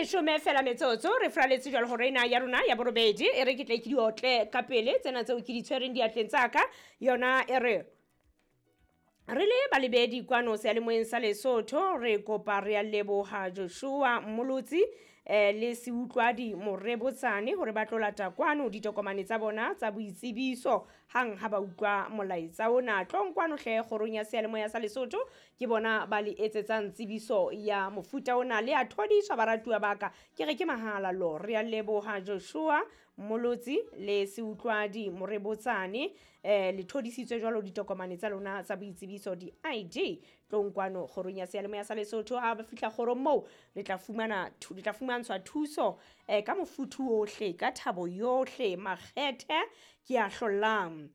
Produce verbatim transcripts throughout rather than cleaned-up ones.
Leshome fela metsotso re fraletse jwalo hore ena ya rona ya borobedi e re ke tle ke di otle ka pele tsena tseo ke di tshwereng diatleng tsa ka. Yona e re re le balebedi kwano seyalemoyeng sa Lesotho, re kopa re a leboha Joshua Mmolotsi eh, le Seutlwadi Morebotsane hore ba tlo lata kwano ditokomane tsa bona tsa boitsebiso hang ha ba utlwa molaetsa ona. Tlong kwano hle kgorong ya seyalemoya sa Lesotho, ke bona ba le etsetsang tsebiso ya mofuta ona. Le a thodiswa baratuwa ba ka, ke re ke mahala lo. Re a leboha Joshua Mmolotsi le Seutlwadi Morebotsane, eh, le thodisitswe jwalo ditokomane tsa lona tsa boitsebiso di-I D. Tlong kwano kgorong ya seyalemoya sa Lesotho, ha ba fihla kgorong moo le tla fumana thu-, le tla fumantshwa thuso eh, ka mofuthu ohle, ka thabo yohle, makgethe ke a hlollang.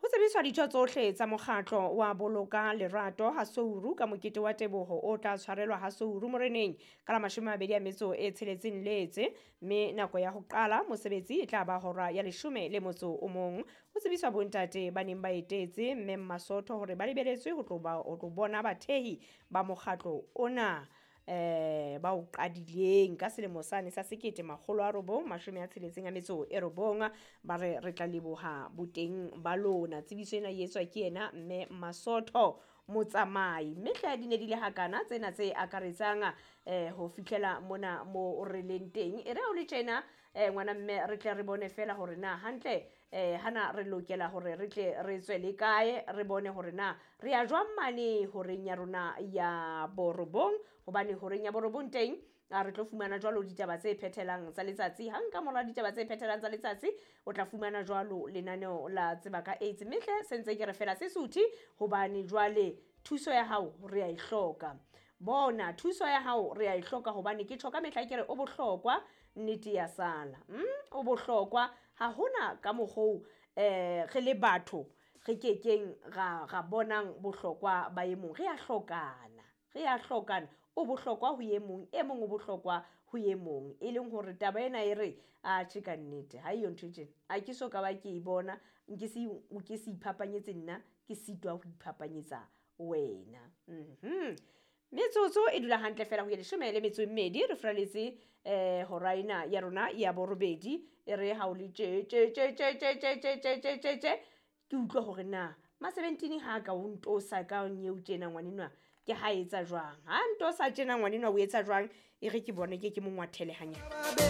Ho tsebiswa ditho tsohle tsa mokgatlo wa Boloka Lerato ha Souru ka mokete wa teboho o tla tshwarelwa ha Souru Moreneng ka la mashome a mabedi a metso e tsheletseng Letse, mme nako ya ho qala mosebetsi e tla ba hora ya leshome le motso o mong. Ho tsebiswa bontate ba neng ba etetse mme Mmasotho hore ba lebeletswe ho tlo ba, ho tlo bona bathehi ba mokgatlo ona eh, ba o qadileng ka selemo sane sa sekete makgolo a robong mashome a tsheletseng a metso e robong. Ba re re tla leboha boteng ba lona. Tsebiso ena e etswa ke yena mme Masotho Motsamai. Mme hle di ne di le hakana tsena tse akaretsang eh, ho fihlela mona mo re leng teng. E re o le tjena eh, ngwana mme re tle re bone fela hore na hantle eh, hana re lokela hore re tle re tswe le kae, re bone hore na re ya jwang mane horeng ya rona ya borobong, hobane horeng ya borobong teng a re tlo fumana jwalo ditaba tse phethelang tsa letsatsi. Hang ka mora ditaba tse phethelang tsa letsatsi o tla fumana jwalo lenaneo la Tseba ka AIDS. Mme hle se ntse ke re fela se suthe, hobane jwale thuso ya hao re a e hloka. Bona thuso ya hao re a e hloka, hobane ke tjho ka mehla ke re o bohlokwa, nnete ya sala. Mm, o bohlokwa ha hona ka mokgoo eh, re le batho re kekeng ra, ra bonang bohlokwa ba e mong. Re a hlokana, re a hlokana. O bohlokwa ho e mong, e mong o bohlokwa ho e mong. E leng hore taba ena e re, a tjhe ka nnete, ha eyo ntho e tjena. Ha ke so ka ba ke e bona, nke se, nke se iphapanyetse nna, ke sitwa ho iphapanyetsa wena. Mhm. Metsotso e dula hantle fela ho ya leshome le metso e mmedi, re furaletse eh, hora ena ya rona ya borobedi. E re ha o le tje, tje, tje, tje, tje, tje, tje, tje, tje, tje, tje, ke utlwe hore na ma-seventeen ha ka o ntosa ka nyeo tjena ngwanenwa, ke ha etsa jwang? Ha ntosa tjena ngwanenwa o etsa jwang? E re ke bone ke ke mo ngwathele hanyane.